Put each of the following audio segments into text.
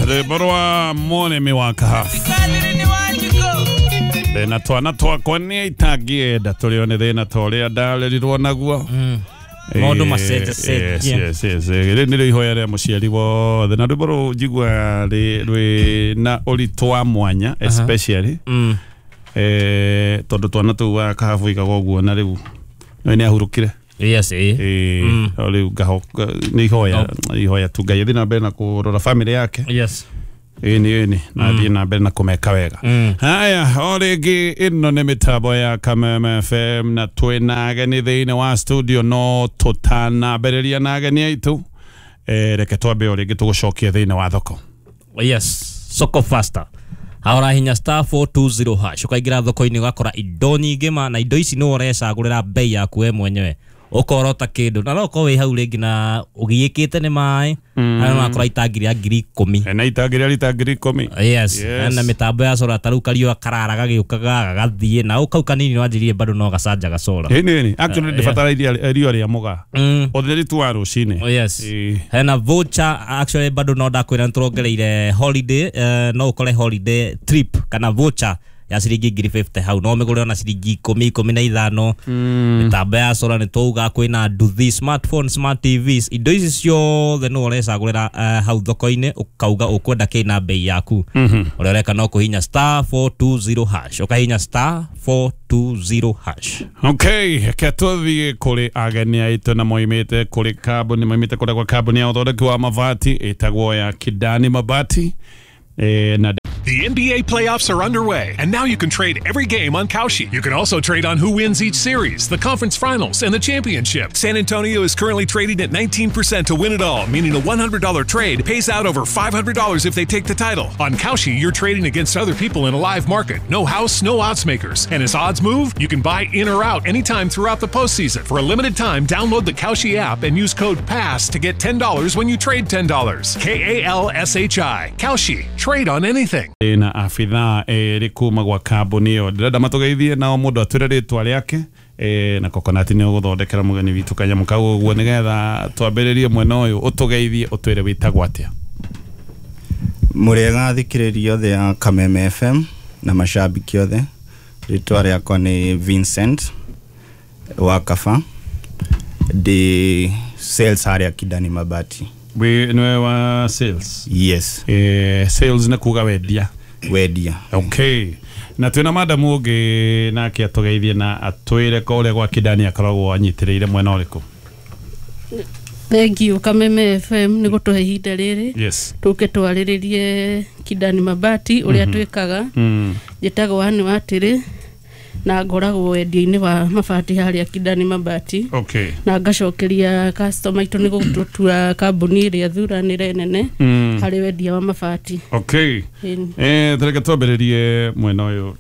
Rwĩmbo rwa mũrĩmi wa kahabu. Thĩna twana twakwa nĩ itangĩenda tũrĩo nĩ thĩna ta ũrĩa ndarerirwo naguo. Maũndũ macenjacenjia. Yes. Rĩrĩ nĩrĩo ihoya rĩa mũciari wothe na rwĩmbo rũu njiguaga rwĩna ũritũ wa mwanya especially tondũ twana tũu wa kahabu igaga ũguo na rĩu nĩ ahurũkire. Yes, eh. Rĩu nĩ ihoya ihoya tu Ngai athiĩ na mbere na kũrora family yake. Yes. Ĩni na athiĩ na mbere na kũmeka wega. Haya, o rĩngĩ ĩno nĩ mĩtambo ya Kameme FM na twĩna ageni thĩinĩ wa studio, no tũtanambĩrĩria na ageni aitũ, reke twambe o rĩngĩ tũgũcokie thĩinĩ wa thoko. Yes, soko faster. Haora hinya star 420 hash ukaingira thoko-inĩ ũgakora indo nyingĩ ma, na indo ici nĩwe ũrecagũrĩra bei yaku we mwenyewe, ũkorota kĩndũ na no ũkorwo wĩ hau rĩngĩ na ũgiĩkĩte nĩ maĩ, na no ũrakora itangi rĩa 10,000. Na itangi rĩa rita 10,000. Yes, na mĩtambo ya solar ta rĩu kariũa karara gagĩũkaga gagathiĩ na kau kanini wanjĩrire bado no gacanjaga solar. Ĩni actually ndĩbatara irio rĩa mũgaa ũtheri tu wa rũcinĩ. Yes. Hena voucher actually bado no ndakwĩra nĩtũrongereire holiday, no ũkore holiday trip kana voucher ya ciringi 50,000 hau no mĩgũre ona ciringi 10, 15. Mĩtambo ya solar nĩ twauga kwĩna nduthi, smartphone, smart TVs, indo ici ciothe nĩwe ũrecagũrĩra hau thoko-inĩ ũkauga ũkwenda kĩ na bei yaku. Ũrĩa ũreka no kũhinya star 420 hash, ũkahinya star 420 hash. Okay, reke tũthiĩ kũrĩ ageni aitũ na moimĩte kũrĩ kambuni, moimĩte kũrĩa kwa kambuni ya ũthondeki wa mabati ĩtagwo ya Kidani Mabati. Na The NBA playoffs are underway, and now you can trade every game on Kalshi. You can also trade on who wins each series, the conference finals, and the championship. San Antonio is currently trading at 19% to win it all, meaning a $100 trade pays out over $500 if they take the title. On Kalshi, you're trading against other people in a live market. No house, no odds makers. And as odds move, you can buy in or out anytime throughout the postseason. For a limited time, download the Kalshi app and use code PASS to get $10 when you trade $10. K-A-L-S-H-I. Kalshi. Trade on anything. Na abithaa erĩ kuma gwa kambuni ĩyo ndĩrenda matũgeithie nao mũndũ atwĩre rĩtwa rĩake, na Coconut nĩ ũgũthondekera mũgeni witũ kanyamũ kau ũguo nĩgetha twambĩrĩrie mwena ũyũ ũtũgeithie ũtwĩre wĩtagwo atĩa. Mũrĩega thikĩrĩria othe ya Kameme FM na mashabiki othe, rĩtwa rĩakwa nĩ Vincent wa Kaba, ndĩ sales harĩa Kidani Mabati. Wĩ nĩwe wa sales? Yes. Sales nĩ kuga wendia. Wendia. Okay. Na twĩna madam ũngĩ nake atũgeithie na atwĩre kũrĩa gwa Kidani akoragwo anyitĩrĩire mwena ũrĩkũ. Thank you Kameme FM nĩ gũtũhe ihinda rĩrĩ. Yes. Tũke twarĩrĩrie Kidani Mabati ũrĩa twĩkaga. Njĩtagwo Anne Watĩrĩ na ngoragwo wendia-inĩ wa mabati harĩa Kidani Mabati. Okay. Na ngacokeria customer itũ nĩ gũtũtua kambuni ĩrĩa thuranĩre nene harĩ wendia wa mabati. Okay. Tũreke twambĩrĩrie mwena ũyũ,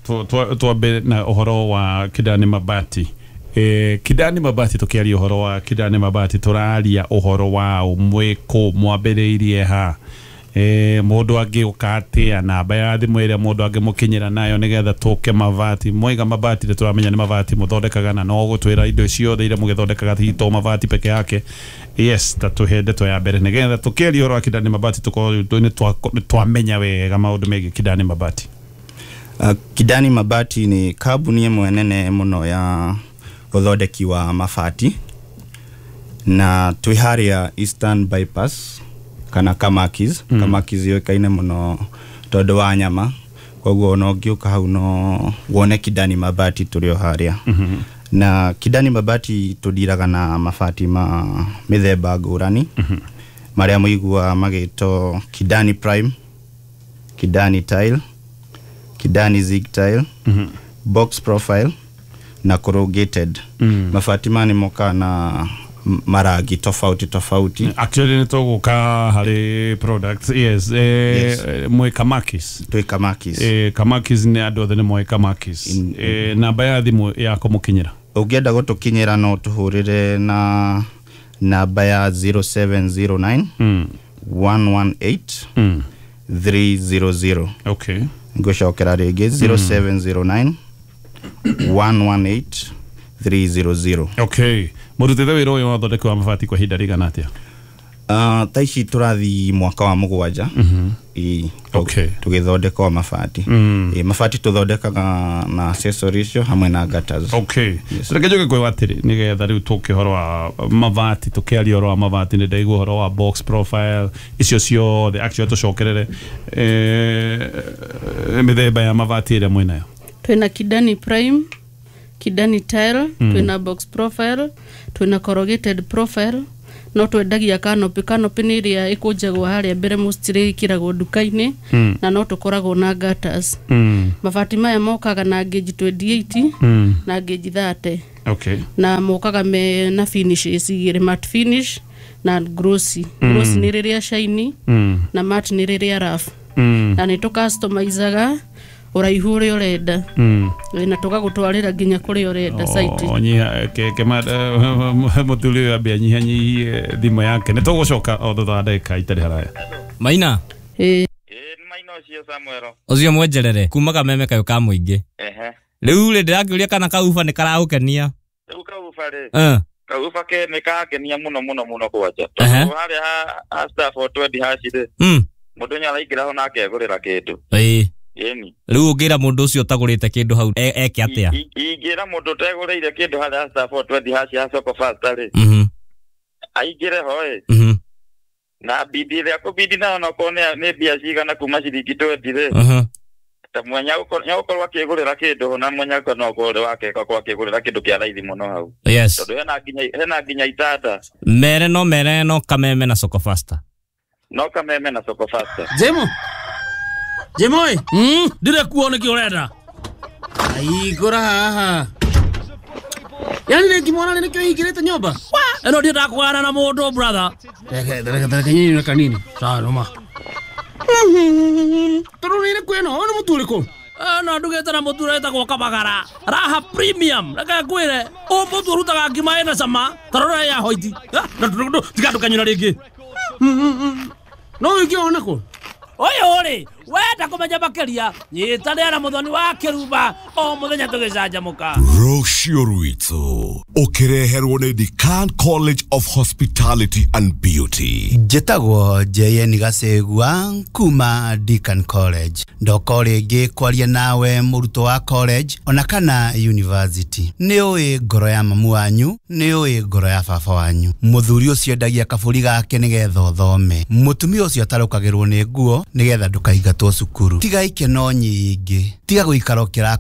twambe na ũhoro wa Kidani Mabati. Kidani Mabati, tũkĩaria ũhoro wa Kidani Mabati tũraria ũhoro wa mwĩkũ mwambĩrĩirie ha, mũndũ angĩũka atĩa, namba ya thimũ ĩrĩa mũndũ angĩmũkinyĩra nayo nĩgetha tũke mabati. Mwaiga mabati tũramenya nĩ mabati mũthondekaga na no gũtwĩra indo ciothe iria mũgĩthondekaga ti to mabati peke yake. Yes, ta tũhe ndeto ya mbere nĩgetha tũkĩaria ũhoro wa Kidani Mabati tũkorwo nĩ twamenya wega maũndũ megiĩ Kidani Mabati. Kidani Mabati nĩ kambuni ĩmwe nene mũno ya ũthondeki wa mabati, na twĩ harĩa Eastern Bypass kana Kamakis. Kamakis yũĩkaine mũno tondũ wa nyama, koguo ona ũngĩũka hau no wone Kidani Mabati tũrĩ o harĩa. Na Kidani Mabati tũndiraga na mabati ma mĩthemba ngũrani, marĩa mũiguaga magĩtwo Kidani Prime, Kidani Tile, Kidani Zig Tile, Box Profile na corrugated. Mabati maya nĩ mokaga na marangi tofauti tofauti. Actually nĩ tũgũka harĩ products. Yes. Yes. Mwĩ Kamakis. Twĩ Kamakis. Kamakis nĩ andũ othe nĩ moĩ Kamakis. Namba ya thimũ ya kũmũkinyĩra ũngĩenda gũtũkinyĩra no tũhũrĩre na namba ya 0709 118 300. Okay. Ngũcokera rĩngĩ 0709 118 300. Okay. Mũrutĩte wĩra ũyũ wa ũthondeki wa mabati kwa ihinda rĩigana atĩa? Thaa ici tũrathiĩ mwaka wa 7. Okay. Tũgĩthondeka o mabati. Mabati tũthondekaga na accessories icio hamwe na gutters. Okay. Reke njoke kwĩ watĩrĩ nĩgetha rĩu tũke ũhoro wa mabati, tũkĩaria ũhoro wa mabati nĩ ndaigua ũhoro wa box profile icio ciothe, actually tũcokerere mĩthemba ya mabati ĩrĩa mwĩnayo. Twĩna Kidani Prime, Kidani Tile, twĩna box profile, twĩna corrugated profile, no twendagia canopy. Canopy nĩ ĩrĩa ĩkũnjagwo harĩa mbere mostly ĩkĩragwo nduka-inĩ, na no tũkoragwo na gutters. Mabati maya mokaga na gauge 28 na gauge 30. Okay. Na mokaga me na finishes igĩrĩ, matte finish na glossy. Glossy nĩ rĩrĩa shiny na matte nĩ rĩrĩa rough. Na nĩ tũcustomizaga ũraihu ũrĩa ũrenda. Na tũgagũtwarĩra nginya kũrĩa ũrenda site. Nyiha ke mũthuri ũyũ ambia nyihanyihie thimũ yake, nĩ tũgũcoka o thutha wa ndagĩka itarĩ haraya. Maina. Ĩĩ. Nĩ Maina ũcio Samuel. Ũcio mwenjerere kuma kameme kayũ ka mũingĩ. Rĩu rĩ ndĩrakĩũria kana kauba nĩ karagũkenia. Rĩu kauba rĩ. Kauba ke nĩ karakenia mũno mũno mũno kwanja. Tondũ harĩa ha star 420 hash rĩ. Mũndũ nĩ araingĩra ho na akegũrĩra kĩndũ. Ĩĩ. Ĩni. Rĩu ũngĩra mũndũ ũcio ũtagũrĩte kĩndũ hau eke atĩa? Ingĩra mũndũ ũtegũrĩire kĩndũ harĩa star 420 hash ya soko fasta rĩ. Aingĩre ho ĩ. Na bidi ĩrĩa kũbidi nayo nokorwo nĩ mbia cigana kuma ciringi 20 rĩ. Ta mwenya nĩagũkorwo akĩgũrĩra kĩndũ na mwenya no akorwo wake akorwo akĩgũrĩra kĩndũ kĩa raithi mũno hau. Yes. Tondũ hena nginya itanda. Mere no kameme na soko fasta. No kameme na soko fasta. Jemo. Jemoi, ndire kuo nĩkĩ ũrenda? Aigũra haha. Yani nĩ ngimwana nĩkĩo hingĩrĩte nyũmba? Ĩno ndiendaga kũgana na mũndũ brother. Reke nyinyi kanini. Sawa noma. Tondũ nĩ kwĩno, nĩ mũtu ũrĩkũ? No ndugĩte na mũtu ũretagwo Kabagara. Raha Premium. Reke ngwĩre, ũyũ mũtu ũrutaga ngima ĩna cama, ta rora ya hoiti. Tiga ndũkanyũra rĩngĩ. No wĩke ona kũ? Ũyũ rĩ, wenda kũmenya makĩria, nyitanĩra na mũthoni wa kĩrumba o mũthenya tũgĩcanjamũka. Rũciũ rwitũ ũkĩreherwo nĩ Decan College of Hospitality and Beauty. Njĩtagwo JN Gacegua kuma Decan College. Ndoka rĩngĩ kwaria nawe mũrutwo wa college ona kana university. Nĩ ũĩ ngoro ya mamu wanyu, nĩ ũĩ ngoro ya baba wanyu. Mũthuri ũcio endagia kabũri gake nĩgetha ũthome. Mũtumia ũcio atarũkagĩrwo nĩ nguo nĩgetha ndũkaingatwo cukuru. Tiga ikeno nyingĩ, tiga gũikara ũkĩra